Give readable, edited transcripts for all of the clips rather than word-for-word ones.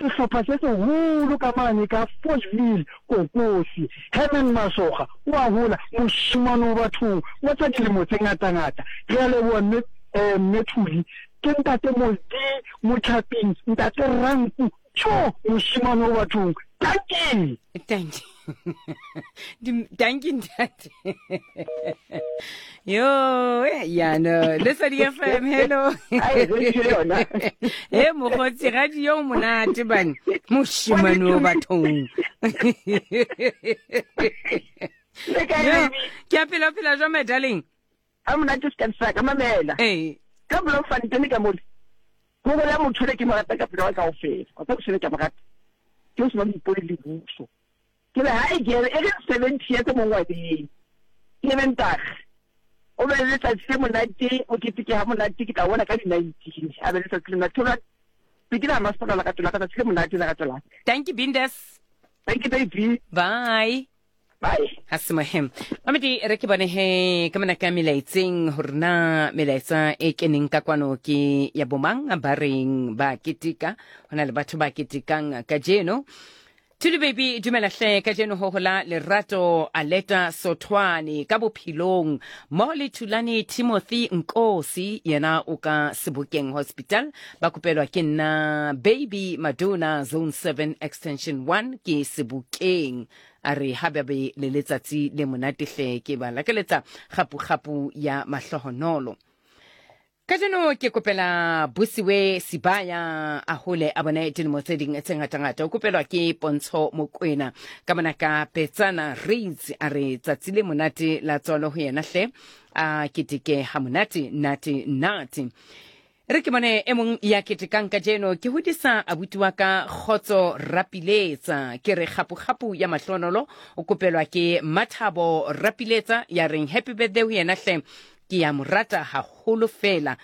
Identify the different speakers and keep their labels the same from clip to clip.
Speaker 1: sehlopha se seholo ka mane ka Fochville, Kokosi. Herman Masoga o a hola, mošemane o bathong, wa tša dilemo tse ngatangata. Re a leboha mme, eh, mme Thuli. Ke ntate Molti, Motlhaping, ntate Ranku, Tjo, mošemane o bathong. Dankie!
Speaker 2: Dankie. Dankie ntate. Yo, ya no, Lesedi FM, hello.
Speaker 3: Ai, radio yona.
Speaker 2: He mokgotsi radio o monate bane. Mošemane o bathong.
Speaker 3: Le kae,
Speaker 2: Yo,
Speaker 3: baby?
Speaker 2: ke a phela phela jwa my darling.
Speaker 3: Ga monate se ka sa ka mamela.
Speaker 2: Ee.
Speaker 3: Ka Bloemfontein ka mole. Go bola motho le ke mo rata ka pelo ya ka kaofela. Wa tseba ke ke mo rata. Ke o se ba moipone le buso. Ke re ha e ke e re 70 years mo ngwaneng. Ke re ntag. O be le letsatsi le monate, o keteke ha monate ke tla bona ka di 19. A be le letsatsi le monate. Thola ke la masepala la ka tola ka tsatsi le monate la ka tola.
Speaker 2: Thank you Bindas.
Speaker 3: Thank you baby.
Speaker 2: Bye.
Speaker 3: Bye.
Speaker 2: Ha se mohe. Mamedi re ke bone he ka mona ka melaetseng hore na melaetsa e keneng ka kwano ke ya bomang ba reng ba keteka. Ho na le batho ba ketekang kajeno. Thuli baby dumela hle kajeno ho hola lerato Aleta Sothwane ka bophelong mmoho le Thulani Timothy Nkosi yena o ka Sebokeng Hospital ba kopelwa ke nna Baby Madonna Zone 7 Extension 1 ke Sebokeng. A re ha ba be le letsatsi le monate hle, ke ba lakaletsa kgapu-kgapu ya mahlohonolo. Kajeno ke kopela Busiwe Sibaya a hole a bone dilemo tse ding tse ngatangata. O kopelwa ke Pontsho Mokwena ka mona ka Petsana Reitz. A re tsatsi le monate la tswalo ho yena hle, a keteke ha monate nate nate. Re ke bone e mong ya ketekang kajeno ke hodisa abuti wa ka Kgotso Rapiletsa. Ke re kgapu-kgapu ya mahlonolo o kopelwa ke Mathabo Rapiletsa ya reng happy birthday ho yena hle, ke ya mo rata haholo fela.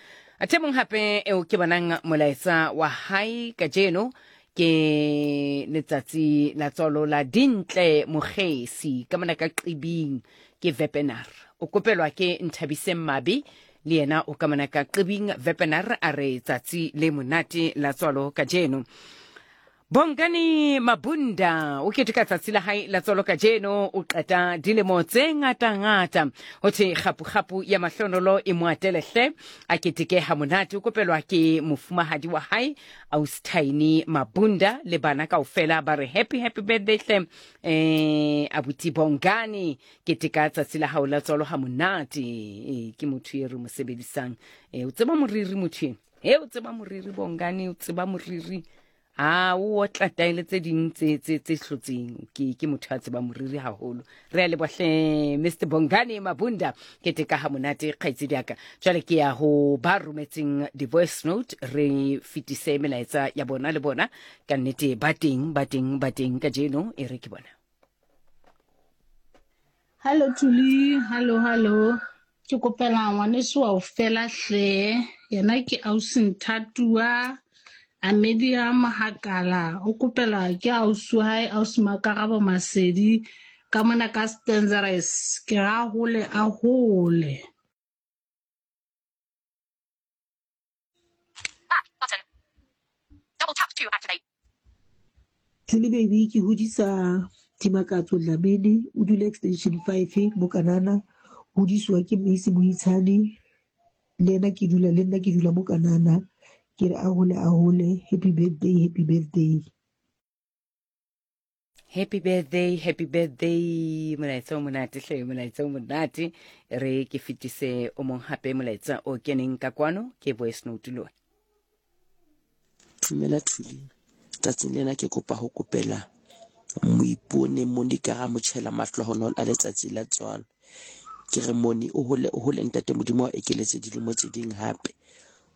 Speaker 2: Athe mong hape eo ke bonang molaetsa wa hae kajeno ke letsatsi la tswalo la Dintle Mokgesi ka mona ka Qibing ke Vepenar. O kopelwa ke Nthabiseng Mabe Le yena o ka mona ka Qibing Vepenar a re tsatsi le monate la tswalo kajeno. Bongani Mabunda o keteka tsatsi la hae la tswalo kajeno, o qeta dilemo tse ngata-ngata. Ho thwe kgapu-kgapu ya mahlonolo e mo atele hle, a keteke ha monate. O kopelwa ke mofumahadi wa hae Austine Mabunda le bana kaofela ba re happy happy birthday hle. Abuti Bongani, Keteka tsatsi la hao la tswalo ha monate. Ee, ke motho e re mo sebedisang. Ee, o tseba moriri motho eno. Ee, o tseba moriri Bongani, o tseba moriri. A o otla taele tse ding tse tse tse hlotseng. Ke ke motho a tseba moriri haholo. Re a leboha hle Mr Bongani Mabunda. Keteka ha monate kgaitsedi ya ka. Jwale ke ya ho ba rometseng di-voice note re fetise melaetsa ya bona le bona. Ka nnete ba teng, ba teng, ba teng kajeno e re ke bona.
Speaker 4: Hallo Thuli, hallo hallo. Ke kopela ngwaneso wa o fela hle. Yena ke ausi Nthatua Amelia Mohakala. O kopela ke ausi wa hae ausi Makarabo Masedi ka mona ka Stanzeres. Ke ra hole a hole.
Speaker 5: Thuli baby ke hodisa Dimakatso Dlamini o dula extension 5 mo Kanana hodisiwa ke Meisie Moitshane le yena ke dula le nna ke dula mo Kanana ke re a hole a hole happy birthday happy birthday.
Speaker 2: Happy birthday, happy birthday. Molaetsa o monate hle, molaetsa o monate. Re ke fetise o mong hape molaetsa o keneng ka kwano ke voice note lona.
Speaker 6: Dumela Thuli, tsatsing lena ke kopa ho kopela Moipone Monica Ramotjhela mahlohonolo a letsatsi la tswalo. Ke re Moni o hole o hole ntate Modimo a ekeletse dilemo tse ding hape.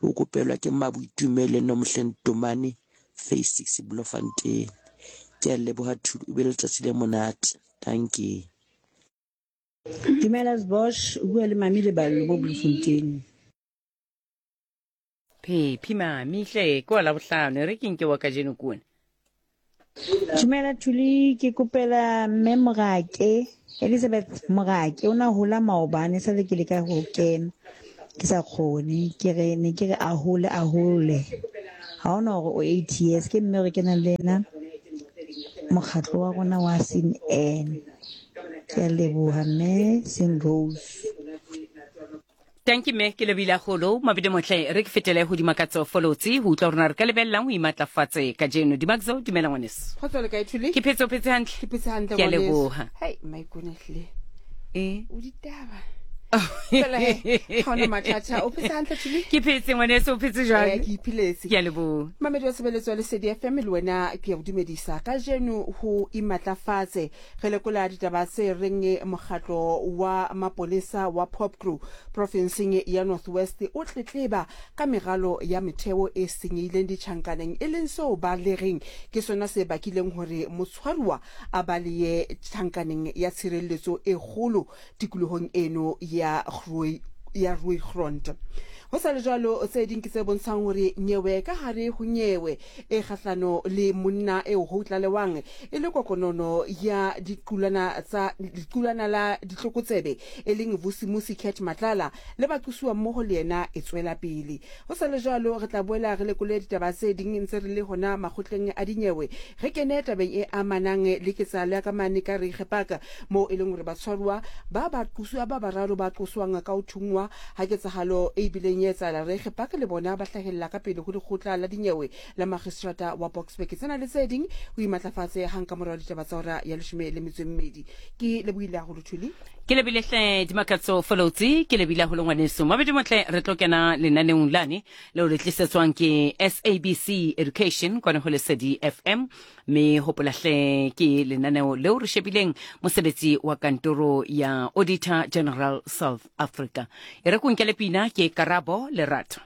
Speaker 6: O kopelwa ke Mmaboitumelo Nomhle Ntomane Phase 6 Bloemfontein. Ke a leboha Thuli, o be le letsatsi le monate. Dankie.
Speaker 7: Dumela Sbosh, o bua le Mami Leballo mo Bloemfontein.
Speaker 2: Phephi mami hle ke wa labohlano e re ke nke wa kajeno kone.
Speaker 7: Dumela Thuli, ke kopela mme Morake, Elizabeth Morake, o na hola maobane sale ke leka ho kena ke sa kgone, ke re ne ke re a hole a hole. Ga ona gore o 80 years ke mme re kenang le ena mokgatlo wa rona wa Sin N. Ke a leboha mme Sin Rose.
Speaker 2: Tanki mme ke lebile golo mabidi motle re ke fetele go Dimakatso Folotsi go utlwa rona re ka lebelelang go imatlafatse kajeno. Dimakatso, dumela ngwaneso.
Speaker 8: Kgotso le kae Thuli?
Speaker 2: Ke phetse o phetse hantle.
Speaker 8: Ke phetse hantle
Speaker 2: Ke a leboha.
Speaker 8: Hei, maikone hle.
Speaker 2: E.
Speaker 8: O ditaba. Fela he, ga ona mathata. O phetse hantle Thuli?
Speaker 2: Ke phetse ngwaneso o phetse jwang?
Speaker 8: Eh, ke iphiletse.
Speaker 2: Ke a leboha.
Speaker 8: Mamedi wa tshebeletso ya Lesedi FM le wena ke ya o dumedisa. Kajeno ho imatlafatse Re lekola ditaba tse reng mokgatlo wa mapolesa wa Popcru profenseng ya North West o tletleba ka meralo ya metheo e senyehileng ditjhankaneng e leng seo ba le reng ke sona se bakileng hore motshwaruwa a baleye tjhankaneng ya tshireletso e kgolo tikolohong eno ya ya Rooigrond. Ho sa le jwalo, tse ding ke tse bontshang hore nyewe ka hare ho nyewe e kgahlano le monna eo ho tlalewang e le kokonono ya diqulwana tsa lequlwana la ditlokotsebe e leng Vusimusi Cat Matlala le baqosuwa mmoho le yena e tswela pele. Ho sa le jwalo, re tla boela re lekole ditaba tse ding ntse re le hona makgotleng a dinyewe, re kene tabeng e amanang le ketsahalo ya ka mane ka Reiger Park moo e leng hore batshwaruwa ba baqosuwa ba bararo ba qoswang ka ho thunngwa ha ketsahalo e bileng ya etsahala Reiger Park le bona ba hlahella ka pele ho lekgotla la dinyewe la magistrata wa Boksburg. Tsena le tse ding o imatlafatse hang ka morao ditaba tsa hora ya 12. Ke lebohile haholo Thuli.
Speaker 2: Ke lebile hle Dimakatso Folotsi, ke lebile haholo ngwaneso. Mabedi motle re tlo kena lenaneong lane leo le tlisetswang ke SABC Education kwana ho Lesedi FM. Mme hopola hle ke lenaneo leo re shebileng mosebetsi wa kantoro ya Auditor General South Africa. E re ko nkele pina ke Karabo Lerato.